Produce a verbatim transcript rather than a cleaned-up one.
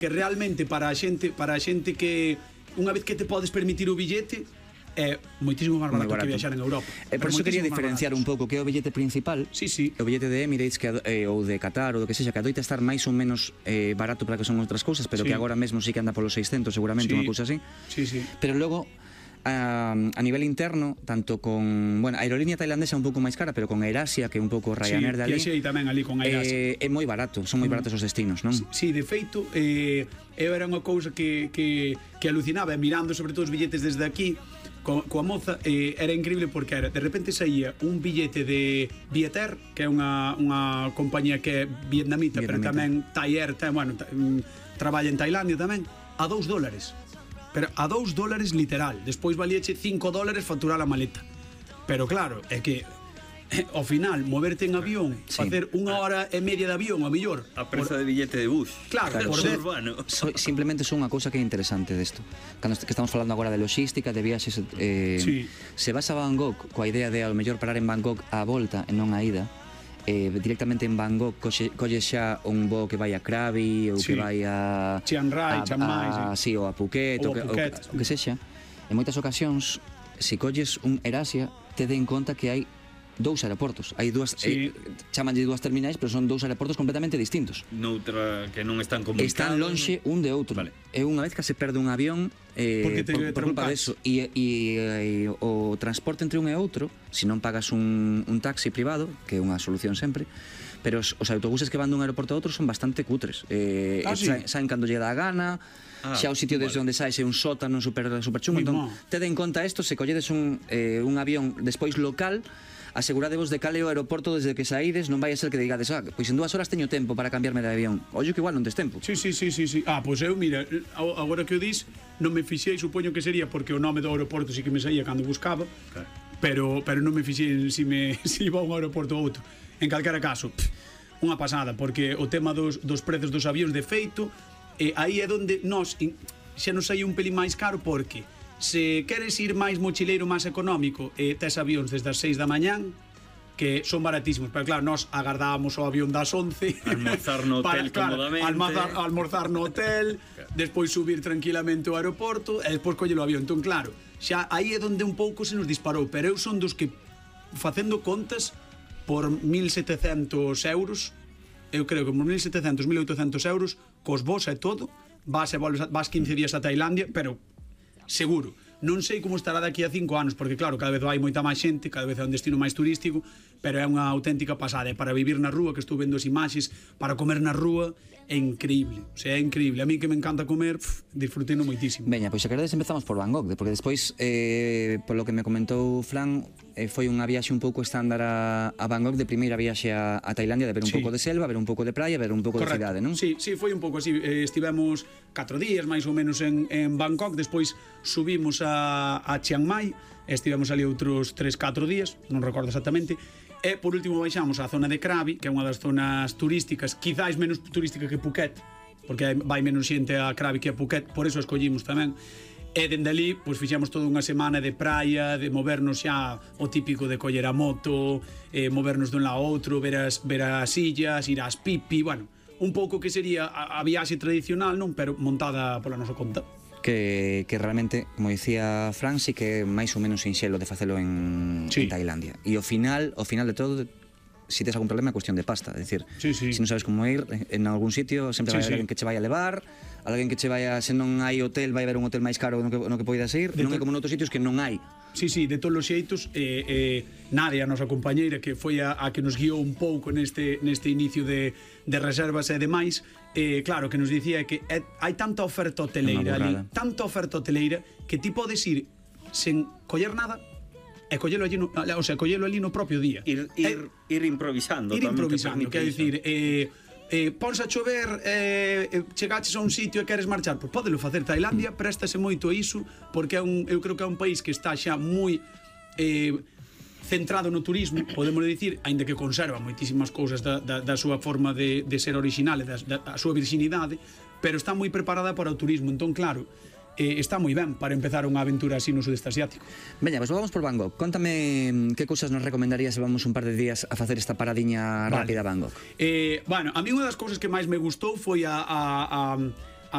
que realmente para a xente, para a xente que unha vez que te podes permitir o billete é moitísimo máis barato, barato que viaxar en Europa. E por iso quería diferenciar un pouco que é o billete principal, sí, sí. o billete de Emirates que, eh, ou de Qatar ou do que sexa, que adoita estar máis ou menos eh, barato para que son outras cousas, pero sí. que agora mesmo sí que anda polos seiscentos seguramente, sí. unha cousa así. Sí, sí. Pero logo a, a nivel interno, tanto con, bueno, a aerolínea tailandesa é un pouco máis cara, pero con AirAsia, que é un pouco Ryanair de ali, sí, tamén ali con AirAsia. Eh, é moi barato, son moi baratos os destinos, non? Sí, sí, de feito, eh, eu era unha cousa que, que, que alucinaba, mirando sobre todo os billetes desde aquí, Co, coa moza, eh, era increíble porque era, de repente saía un billete de Viettel, que é unha, unha compañía que é vietnamita, vietnamita. pero tamén Thai Air, tam, bueno, ta, um, traballa en Tailandia tamén, a dous dólares. Pero a dous dólares literal. Despois valíache cinco dólares facturar a maleta. Pero claro, é que ao final, moverte en avión, sí. facer unha hora e media de avión, a mellor a prezo por... de billete de bus. Claro, claro, por urbano. So, simplemente son unha cousa que é interesante desto. Cando que estamos falando agora de logística, de viaxes, eh, sí. se vas a Bangkok coa idea de ao mellor parar en Bangkok á volta e non a ida, eh, directamente en Bangkok colle, colle xa un voo que vai a Krabi ou sí. que vai a Chiang Rai, Chiang Mai, sí. sí, ou a Phuket, ou, ou a Phuket, o, o, o que sexa. En moitas ocasións, se colles un AirAsia, te den conta que hai dous aeroportos. Hai dúas, sí. eh, chamanlle dúas terminais, pero son dous aeroportos completamente distintos. Noutra que non están comunicados. Están lonxe un de outro. Vale. É unha vez que se perde un avión eh, por, por culpa deso. E, e, e o transporte entre un e outro, se non pagas un, un taxi privado, que é unha solución sempre, pero os, os autobuses que van dun aeroporto a outro son bastante cutres. Eh, ah, sí. Saen cando lle dá a gana, ah, xa o sitio desde vale. onde saes é un sótano super, super chungo. Entón, te den conta isto, se colledes un, eh, un avión despois local, aseguradevos de cal é o aeroporto desde que saídes, non vai a ser que digades, ah, pois en dúas horas teño tempo para cambiarme de avión. Ollo que igual non tes tempo. Sí, sí, sí, sí, sí. Ah, pois eu, mira, agora que o dis, non me fixei, supoño que sería porque o nome do aeroporto sí que me saía cando buscaba, claro. pero pero non me fixei si me si iba a un aeroporto ou outro. En calquera caso, pff, unha pasada, porque o tema dos, dos prezos dos avións de feito, eh, aí é onde nós xa nos saía un pelín máis caro, porque se queres ir máis mochileiro, máis económico, eh, tes avións desde as seis da mañán que son baratísimos, pero claro, nós agardábamos o avión das once almorzar no hotel para, claro, cómodamente almorzar, almorzar no hotel despois subir tranquilamente ao aeroporto e despois coller o avión. Entón claro, xa aí é onde un pouco se nos disparou, pero eu son dos que facendo contas por mil setecentos euros, eu creo que por mil setecentos, mil oitocentos euros cos vos e todo, vas e volves, vas quince días a Tailandia, pero seguro. Non sei como estará daqui a cinco anos, porque claro, cada vez vai moita máis xente, cada vez é un destino máis turístico, pero é unha auténtica pasada. E para vivir na rúa, que estou vendo as imaxes, para comer na rúa, é increíble. O sea, é increíble. A mí que me encanta comer, pff, disfruteno moitísimo. Veña, pois xa queredes empezamos por Bangkok, porque despois, eh, polo que me comentou Fran, eh, foi unha viaxe un pouco estándar a, a Bangkok, de primeira viaxe a, a Tailandia, de ver un sí. pouco de selva, ver un pouco de praia, ver un pouco Correcto. de cidade, non? Sí, sí, foi un pouco así. Eh, estivemos catro días, máis ou menos, en, en Bangkok, despois subimos a, a Chiang Mai, estivemos ali outros tres catro días, non recordo exactamente, e por último baixamos á zona de Krabi, que é unha das zonas turísticas, quizáis menos turística que Phuket, porque vai menos xente a Krabi que a Phuket, por eso escollimos tamén. E dende ali, pois fixemos toda unha semana de praia, de movernos xa o típico de coller a moto, eh, movernos dun lado a outro, ver as, ver as illas, ir ás pipi, bueno, un pouco que sería a, a viaxe tradicional, non? Pero montada pola nosa conta. Que, que realmente, como dicía Fran, sí que é máis ou menos sinxelo de facelo en, sí. en Tailandia. E ao final, ao final de todo, si tes algún problema é cuestión de pasta, é dicir, sí, sí. se non sabes como ir en algún sitio, sempre vai sí, haber sí. alguén que che vai a levar, alguén que che vai a, se non hai hotel, vai haber un hotel máis caro no que, no que poidas ir, de non é como noutros sitios que non hai. Sí, sí, de todos os xeitos, eh, eh, Nadia, a nosa compañeira, que foi a, a que nos guiou un pouco neste, neste inicio de, de reservas e demais, eh, claro, que nos dicía que é, hai tanta oferta hoteleira ali, tanta oferta hoteleira, que ti podes ir sen coller nada e collelo allí no, o sea, collelo ali no propio día. Ir, ir, eh, ir improvisando. Ir improvisando, quer dicir, eh, eh, pons a chover, eh, chegaches a un sitio e queres marchar, pois podelo facer. Tailandia préstase moito a iso, porque é un, eu creo que é un país que está xa moi eh, centrado no turismo, podemos dicir, aínda que conserva moitísimas cousas da, da, da súa forma de, de ser original e da, da súa virxinidade, pero está moi preparada para o turismo. Entón, claro, eh, está moi ben para empezar unha aventura así no sudeste asiático. Veña, pois vamos por Bangkok. Contame que cousas nos recomendarías se vamos un par de días a facer esta paradiña vale. rápida a Bangkok. Eh, bueno, a mí unha das cousas que máis me gustou foi a, a, a